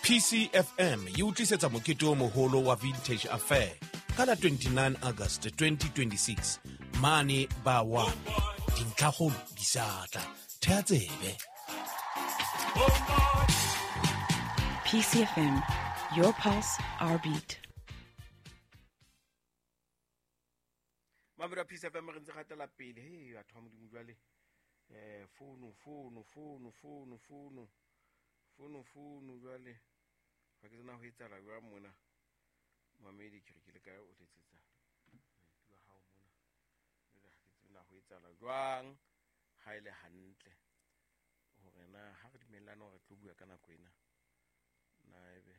PCFM e o tlisetsa mokete o moholo wa Vintage Affair ka la 29 August 2026 mane ba 1. Dintlhakgolo di sa tla. Thea tsebe. PCFM, your pulse, our beat. Mamelo a Peace FM, re ntse gatela pele. He, batho ba Modimo, jwale fono fono fono fono fono fono fono, jwale ga ke tsena ho etsala jwang mona. Mamedi, ke re ke le kae, o letsetsa moeti wa hao mona. Jwale ha ke tsebe na ho etsala jwang, ha e le hantle hore na ha re dumellane hore re tlo bua ka nako ena, na ebe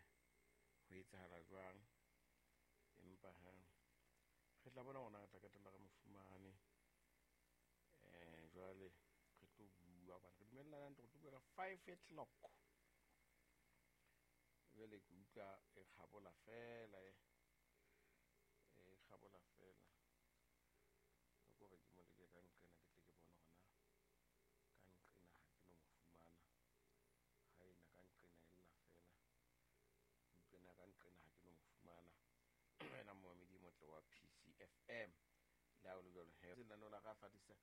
ho etsahala jwang. Empa ha re tla bona hore na re tla qetella re mo fumane. Jwale re tlo bua hobane re dumellana hantle re tlo bua ka 5 o'clock. Jwale ke utlwa e kgabola fela, e kgabola fela le kore ke mo leke ka nqena, ke tle ke bone hore na ka nqena ha ke no mo fumana. Ha ena ka nqena e lla fela, ke utlwe na ka nqena ha ke no mo fumana. Wena momamedi e motle wa PCFM, le ha o le jwalo he, lenaneo la ka fatisa.